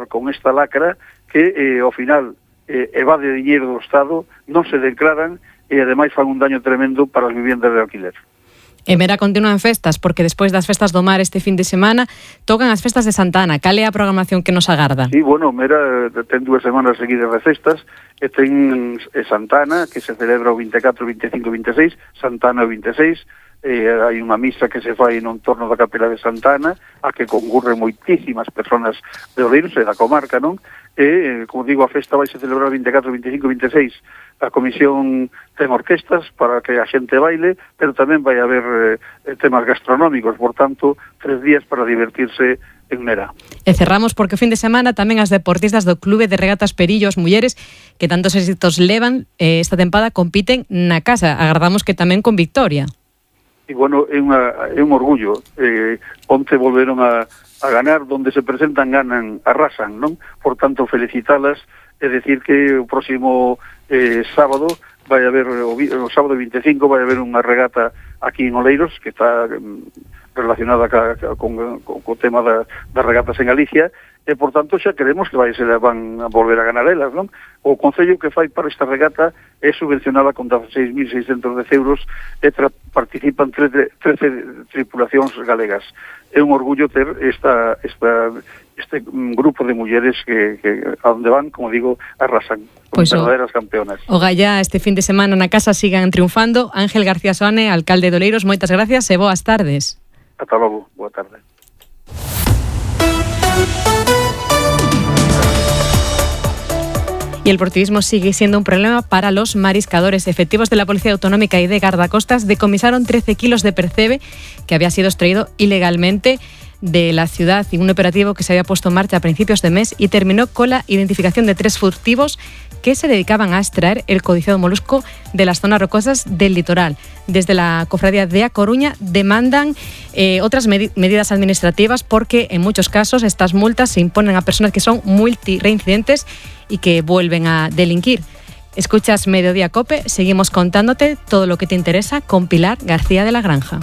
con esta lacra que ao final evade diñeiro do Estado, non se declaran e ademais fan un daño tremendo para as viviendas de alquiler. En Mera continúan festas, porque despois das festas do mar este fin de semana tocan as festas de Santa Ana. Cal é a programación que nos agarda? Sí, bueno, Mera ten 2 semanas seguidas de festas, e ten Santa Ana, que se celebra o 24, 25 e 26, Santa Ana o 26, hai unha misa que se fai no entorno da capela de Santa Ana, a que concurren moitísimas persoas de Oleiros e da comarca, non? E, como digo, a festa vai se celebrar 24, 25 e 26. A comisión ten orquestas para que a xente baile, pero tamén vai haber temas gastronómicos, por tanto, 3 días para divertirse en Mera. E cerramos porque o fin de semana tamén as deportistas do Clube de Regatas Perillo, as mulleres que tantos éxitos levan esta tempada, compiten na casa. Agardamos que tamén con victoria. E, bueno, é un orgullo. Onte volveron a ganar, donde se presentan, ganan, arrasan, non? Por tanto, felicitalas, é decir que o próximo sábado vai haber, o sábado 25 vai haber unha regata aquí en Oleiros, que está relacionada con o tema das regatas en Galicia, e, por tanto, xa queremos que se van a volver a ganar elas, non? O concello que fai para esta regata é subvencionada con 16.610 euros e participan 13 tripulacións galegas. É un orgullo ter este grupo de mulleres que a onde van, como digo, arrasan, como verdaderas campeonas. O Gallá este fin de semana na casa sigan triunfando. Ángel García Soane, alcalde de Oleiros, moitas gracias e boas tardes. Ata logo, boa tarde. Y el portuguismo sigue siendo un problema para los mariscadores. Efectivos de la Policía Autonómica y de Guardacostas decomisaron 13 kilos de percebe que había sido extraído ilegalmente de la ciudad en un operativo que se había puesto en marcha a principios de mes y terminó con la identificación de 3 furtivos que se dedicaban a extraer el codiciado molusco de las zonas rocosas del litoral. Desde la Cofradía de A Coruña demandan otras medidas administrativas porque en muchos casos estas multas se imponen a personas que son multireincidentes y que vuelven a delinquir. Escuchas Mediodía Cope, seguimos contándote todo lo que te interesa con Pilar García de la Granja.